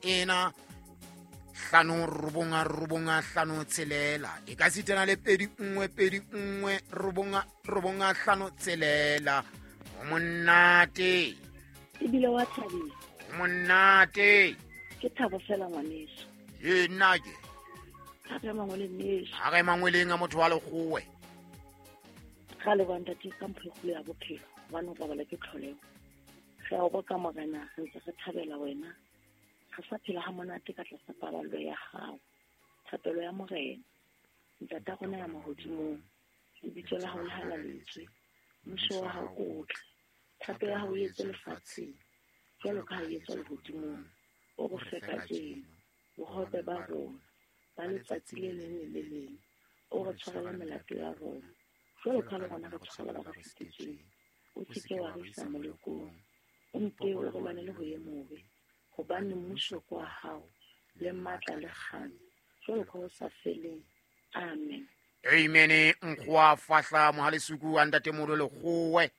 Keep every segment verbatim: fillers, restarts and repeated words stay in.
Ena hlano robong robong hlano tshelela e ka sitana le pedi nngwe pedi nngwe robong robong hlano tshelela. O monate ebile wa thabisa. O monate. Ke thabo fela ngwaneso. Ye nna ke a re mangweleng neso. A re mangweleng a motho wa lekgowe. Ga le banta ke ka mpho e kgolo ya bophelo gobane o robala ke tlholego. Re a o boka Morena, re ntse re thabela wena. Re sa phela ha monate ka tlasa paballo ya hao. Thapelo ya Morena, Ntata rona ya mahodimong, lebitso la hao le halaletswe, mmuso wa hao o tle, thato ya hao e etswe lefatsheng jwalo ka ha e etswa lehodimong. O re fe kajeno bohobe ba rona ba letsatsi le leng le le leng. O re tshwarele melato ya rona jwalo ka ha le rona re tshwarela ba re sitetsweng. O se ke wa re isa molekong, o mpe o re lwanele ho e mobe, hobane mmuso ke wa hao le matla le kganya jwalo ka ho sa feleng. Amen. Amen. Nkgowa fahla mohalesuku wa ntatemoholo Lekgowe.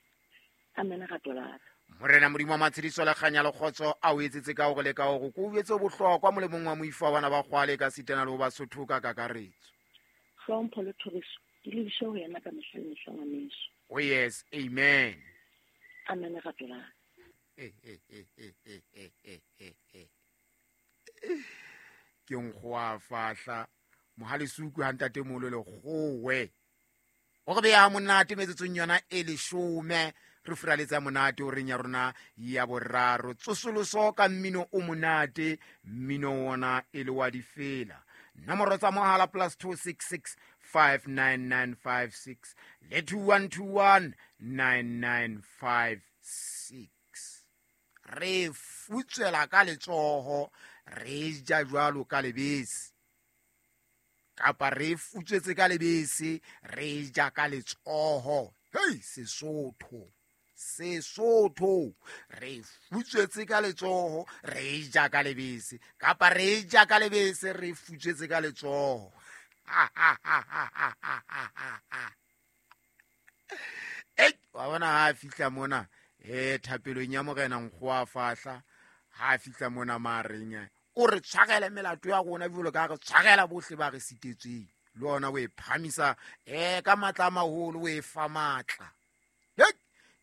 Amen rato la ka. Morena Modimo wa matshediso le kganya le kgotso a o etsetse ka hore le ka hore ko o etse bohlokwa molemong wa moifo wa bana ba kgwale ka sitana le ho Basotho ka kakaretso. Hlompho le thoriso di lebiswe ho yena ka mehla le mehla ngwaneso. Oh yes, amen. Amen rato la ka. Eh, eh, eh, eh, eh, eh, eh, eh, eh. Ke nkgowa fahla mohalesuku ha ntatemoholo Lekgowe. O re beha monate metsotsong yona e leshome re furaletsa monate o reng ya rona ya boraro. Tsosoloso ka mmino o monate, mmino ona e le wa difela. Nomoro tsa mohala plus two six six five nine nine five six le two one two one nine nine five six. Re futswela ka letsoho, re ja jwalo ka lebese. Kapa re futswetse ka lebese, re ja ka letsoho. Hei, Sesotho. Sesotho. Re futswetse ka letsoho, re ja ka lebese. Kapa re ja ka lebese, re futswetse ka letsoho. Ei, wa bona ha a fihla mona, eh, thapelong ya Morena Nkgowa fahla, ha a fihla mona mareng, o re tshwarele melato ya rona jwalo ka ha re tshwarela bohle ba re sitetsweng. Le ona o e phamisa, eh, ka matla a maholo, o e fa matla. Hei,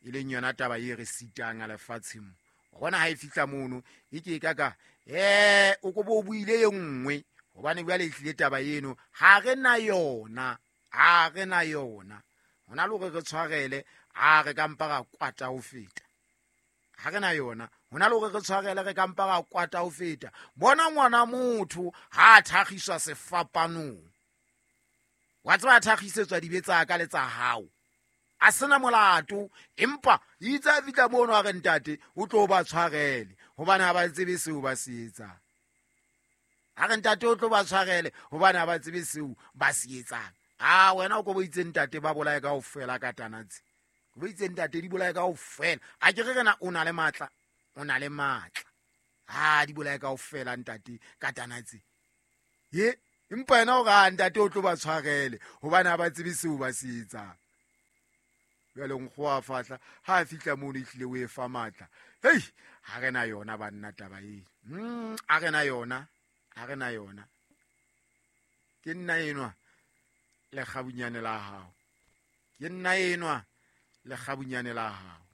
e leng yona taba e re sitang a lefatsheng mo. Wa bona ha e fihla mono, e ke ka ka, eh, o ko bo buile e nngwe, hobane jwale e tlile taba eno, ha re na yona, ha re na yona. Hona le hore re tshwarele, a re ka mpa ra kwata ho feta. Ha re na yona, hona le hore re tshwarele, re ka mpa ra kwata ho feta. Bona ngwana motho ha a thakgiswa sefapanong. Wa tseba a thakgisetswa dibe tsa ka le tsa hao. A sena molato, empa itse a fihla mono a re ntate, o tlo ba tshwarele, hobane ha ba tsebe seo ba se etsang. A re ntate o tlo ba tshwarele, hobane ha ba tsebe seo ba se etsang. Ah, wena o ko bo itse ntate ba bolaye kaofela ka tanatsi. Bo itse ntate di bolaye kaofela. A ke re rena o na le matla, o na le matla. Ah, di bolaye kaofela ntate ka tanatsi. Ye, empa yena o re, ah, ntate o tlo ba tshwarele, hobane ha ba tsebe seo ba se etsang. Jwale Nkgowa fahla, ha a fihla mono ehlile o e fa matla. Hei, ha re na yona banna taba e. Mm, ha re na yona, ha re na yona. Ke nna enwa lekgabunyane la hao. Ke nna enwa lekgabunyane la hao.